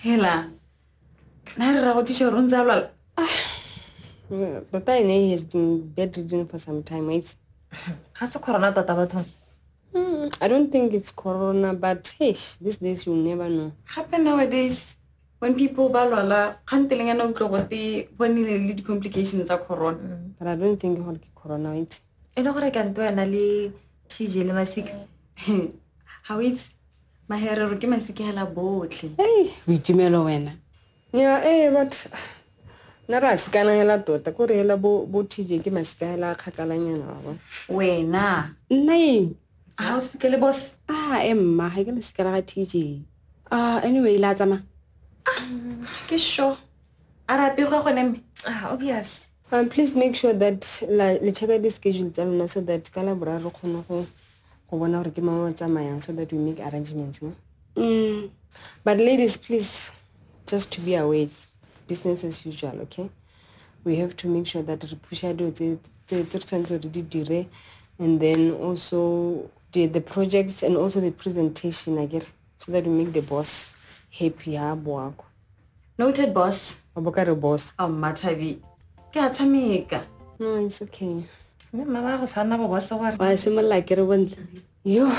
Hela na re ra go thuša gore o ntse a lwala? Tota ene he has been bedridden for some time, wait. Ga se corona tota bathong? I don't think it's corona, but hey, these days you'll never know. Gape nowadays when people ba lwala kganteleng yana utlwa gote go nnile le di-complications tsa corona. But I don't think gore ke corona, wait. E le gore kante wena le TJ le Masika? Ga o itse Maherero ke Masika hela botlhe. Hey, boitumelo wena. Yeah, but nna re a sekana hela tota, ko re hela bo TJ ke Masika hela a kgakalanyana wa bona. Wena. Nna eng? A o seke le boss? Ah, e mma, ga ke le seka la ga TJ. Ah, anyway, la tsamaya. Ah, ke sure. A re apegwa gone mme? Ah, obvious. Please make sure that le check di schedule tsa lona so that ka la boraro re kgone go bona gore ke mang o tsamayang so that we make arrangements, no? But ladies, please, just to be aware, it's business as usual, okay? We have to make sure that re pusha dilo tse re tshwanetse re di dire, and then also the projects and also the presentation, akere, so that we make the boss happy ha boa kwa. Noted, boss. Wa bo ka re boss. Oh, Mathabi, ke a tshameka. No, it's okay. Mme mma ba go tshwana bo boss gore. Wa simolola ke re bontle. Yo.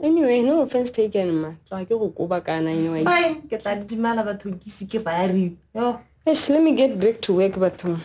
Anyway, no offense taken, ma. Tloga ke go koba kana anyway. Bye, ke tla didimala bathong ke se ke ba re. Yo. Eish, let me get back to work, bathong.